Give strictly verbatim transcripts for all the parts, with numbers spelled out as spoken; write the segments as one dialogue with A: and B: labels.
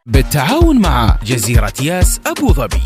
A: بالتعاون مع جزيرة ياس أبو ظبي.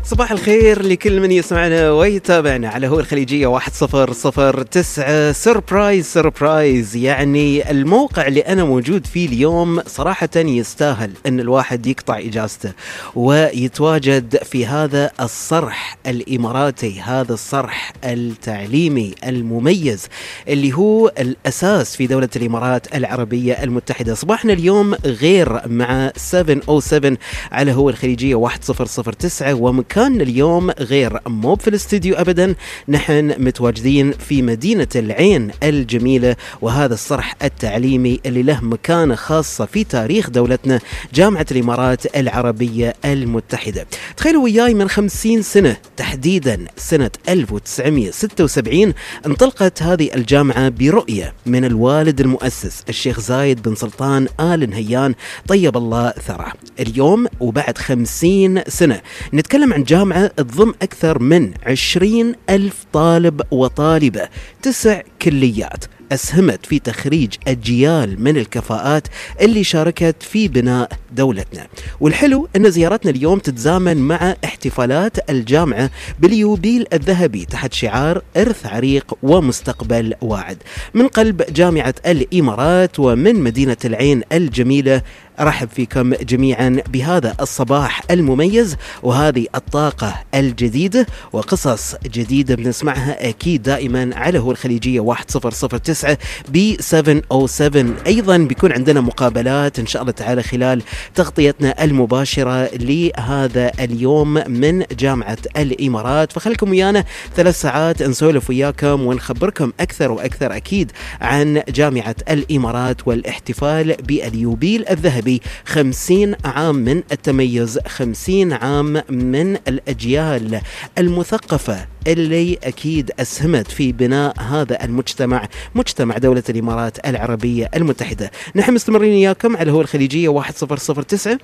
B: صباح الخير لكل من يسمعنا ويتابعنا على هو الخليجية واحد صفر صفر تسعة. سربرايز سربرايز، يعني الموقع اللي أنا موجود فيه اليوم صراحة يستاهل أن الواحد يقطع إجازته ويتواجد في هذا الصرح الإماراتي، هذا الصرح التعليمي المميز اللي هو الأساس في دولة الإمارات العربية المتحدة. صباحنا اليوم غير مع سبعة أو سبعة على هو الخليجية واحد صفر صفر تسعة، ومكان كان اليوم غير مو في الاستديو أبدا، نحن متواجدين في مدينة العين الجميلة، وهذا الصرح التعليمي اللي له مكانة خاصة في تاريخ دولتنا، جامعة الإمارات العربية المتحدة. تخيلوا وياي من خمسين سنة تحديدا سنة ألف وتسعمائة وستة وسبعين انطلقت هذه الجامعة برؤية من الوالد المؤسس الشيخ زايد بن سلطان آل نهيان طيب الله ثراه. اليوم وبعد خمسين سنة نتكلم عن جامعة تضم أكثر من عشرين ألف طالب وطالبة، تسع كليات أسهمت في تخريج أجيال من الكفاءات اللي شاركت في بناء دولتنا. والحلو أن زيارتنا اليوم تتزامن مع احتفالات الجامعة باليوبيل الذهبي تحت شعار إرث عريق ومستقبل واعد. من قلب جامعة الإمارات ومن مدينة العين الجميلة أرحب فيكم جميعا بهذا الصباح المميز وهذه الطاقة الجديدة وقصص جديدة بنسمعها أكيد دائما على هو الخليجية واحد صفر صفر تسعة ب سبعة أو سبعة. أيضا بيكون عندنا مقابلات إن شاء الله تعالى خلال تغطيتنا المباشرة لهذا اليوم من جامعة الإمارات، فخلكم ويانا ثلاث ساعات نسولف وياكم ونخبركم أكثر وأكثر أكيد عن جامعة الإمارات والاحتفال باليوبيل الذهبي، خمسين عام من التميز، خمسين عام من الأجيال المثقفة اللي أكيد أسهمت في بناء هذا المجتمع، مجتمع دولة الإمارات العربية المتحدة. نحن مستمرين إياكم على هو الخليجية واحد صفر صفر تسعة.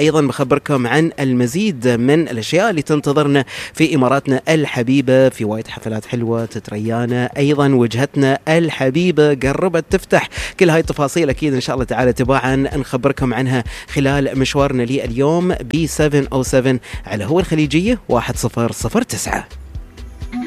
B: أيضا بخبركم عن المزيد من الأشياء اللي تنتظرنا في إماراتنا الحبيبة، في وايد حفلات حلوة تتريانا، أيضا وجهتنا الحبيبة قربت تفتح. كل هاي التفاصيل أكيد إن شاء الله تعالى تباعا نخبركم عنها خلال مشوارنا لي اليوم ب سبعة أو سبعة على هو الخليجية واحد صفر صفر تسعة.